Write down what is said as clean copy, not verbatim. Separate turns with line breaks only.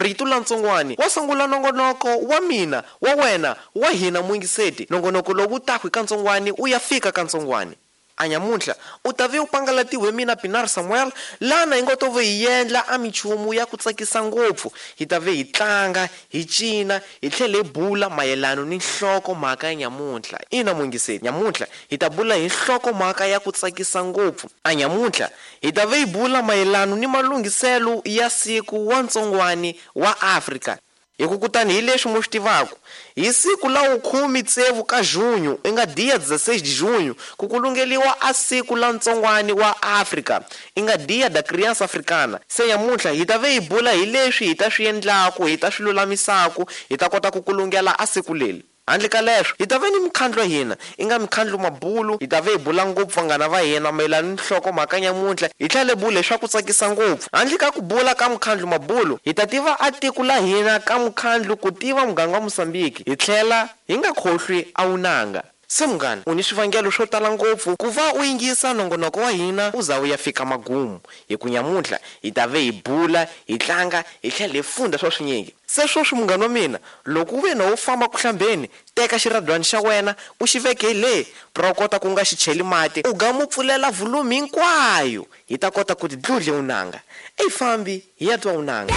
Rito la ntsongwani wa sungula nongonoko wa mina wa wena wa hina muyingiseti. Nongonoko lowu taku hi kantsongwani u ya fika kantsongwani. A nyamuntlha u ta ve u pangalatiwe mina Pinar Samuel lana hi ngo to ve hi endla a minchumu ya ku tsakisa ngopfu. Hi ta ve hi tlanga, hi cina, hi tlhela hi bula mayelano ni nhlokomhaka ya nyamuntlha. Ina muyingiseti, nyamuntlha hi ta bula hi nhlokomhaka ya ku tsakisa ngopfu. A nyamuntlha hi ta ve hi bula mayelano ni malunghiselo ya siku wa ntsongwani wa Afrika. Hi ku kutani hi leswi mu swi tivaku, hi siku la wukhume tsevu ka junho, i nga dia 16 de junho, ku kulungeliwa a siku la ntsongwani wa Afrika, i nga Dia da Criança Africana. Se nyamuntlha hi ta ve hi bula hi leswi hi ta swi endlaku, hi ta swi lulamisaku, hi ta kota ku kulungela a siku leli. Handle ka leswo, hi ta ve ni mikhandlu ya hina, i nga mikhandlu mabulu, hi ta ve hi bula ngopfu vanghana va hina mayelana ni nhlokomhaka nyamuntlha, hi tlhela hi bula hi swa ku tsakisa ngopfu. Handle ka ku bula ka mukhandlu mabulu, hi ta tiva a tiko la hina ka mukhandlu ku tiva muganga wa Mosambiki, hi tlhela hi nga khohlwi a wunanga. Se munghana, u ni swivangelo swo tala ngopfu ku va u yingisa nongonoko wa hina u za u ya fika magumu, hi ku nyamuntlha hi ta ve hi bula, hi tlanga, hi tlhela hi funda swa swinyingi. Se swoswi munghana wa mina, loko u ve na wo famba ku hlambeni, teka xiradywana xa wena u xi veke hi le, pra u kota ku nga xi cheli mati, u ga mu pfulela vholumu hinkwayo, hi ta kota ku ti dludle wunanga. Eyi fambi hi ya twa wunanga.